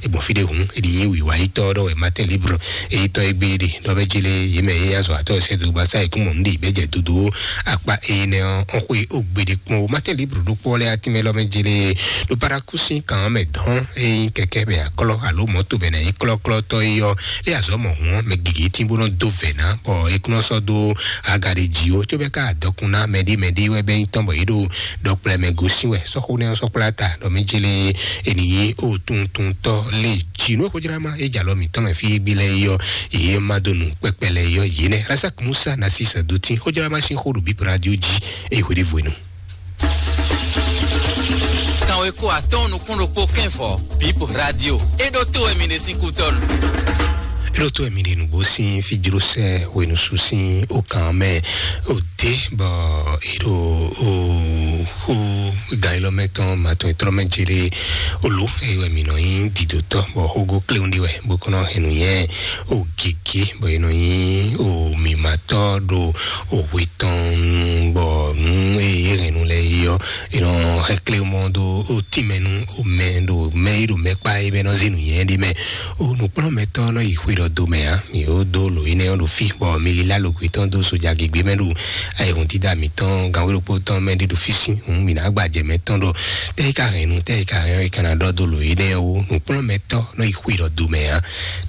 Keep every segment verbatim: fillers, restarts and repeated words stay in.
Egbɔn fide hun edi yi wiwa yi tɔ ɖɔ wɛ Martin Libre eyi tɔ egbe ɖe ɖɔ bɛ jele yi mɛ yi azɔ atɔ sɛ do gbasa yi kún mɔ nu ɖe bɛ jɛ dodo akpa eyi nɛ ɔ xwe ogbede kpɔn o Martin Libre ɖo kpɔ lɛ ati mɛ lɔ mɛ jele ɖo parakusi kan mɛ dɔn eyi kɛkɛ bɛ aklɔ alo mɔto bɛ na yi klɔklɔ tɔ yi yɔ le azɔ mɔ hun mɛ gigi ti bo nɔ do vɛ na bɔ ekunɔ sɔ do aga ɖe ji o tso bɛ ka dɔkun na mɛɖi mɛɖi wɛ bɛ yi tɔn bɔ yi ɖo dɔkplɛ mɛ gosi wɛ sɔxo nɛ sɔkplata ɖɔ mɛ jele eniyi o tuntuntɔ le ji nú xojrama e jalɔ mitɔn mɛ fi gbi lɛ yɔ ye ma do nu kpɛkpɛ lɛ yɔ ye nɛ rasak musa na sisa do tin xojrama sin xo ɖo bip radio ji eye xwe ɖe voenu. Kanwe ko atɔn nukún ɖokpó kɛnfɔ bip radio e ɖo to wɛ mi ɖe sín kutɔnu. Eɖo to emi ɖe nugbo sin fijrosɛ wenusu sin okan mɛ ode bɔ eɖo o xo gailɔmɛtɔn matɔn etrɔmɛ jere olo eye wɛ mi nɔ nyi didotɔ bɔ xogo kleun ɖi wɛ bó kɔnɔ hɛn nuyɛ o gege bɔ e nɔ nyi o mimatɔ ɖo o hwe tɔn bɔ nu eye hɛn nu lɛ yi ɔ e nɔ hɛ kle mɔ do o tìmɛ nu o mɛ ɖo mɛ yi ɖo mɛ kpa yi bɛ nɔ ze nuyɛ ɖi mɛ o nukplɔmɛtɔ nɔ yi xwe ɖɔ do mɛ a mi o do lo yi nɛ ɔ ɖo fi bɔ mi lila lo gbe tɔn do soja gegbe mɛ ɖo ayi hun dida mitɔn gan wéɖokpó tɔn mɛ ɖi ɖo fisi hun mi na gbajɛ mɛ tɔn ɖɔ tɛ yi ka hɛn nu tɛ yi ka hɛn yi kana ɖɔ do lo yi nɛ o nukplɔmɛtɔ nɔ yi xwe ɖɔ do mɛ a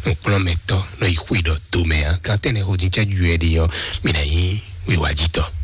nukplɔmɛtɔ nɔ yi xwe ɖɔ do mɛ a gan tɛnɛ xo din cɛ ju yɛ ɖi ɔ mi na yi wiwa jitɔ.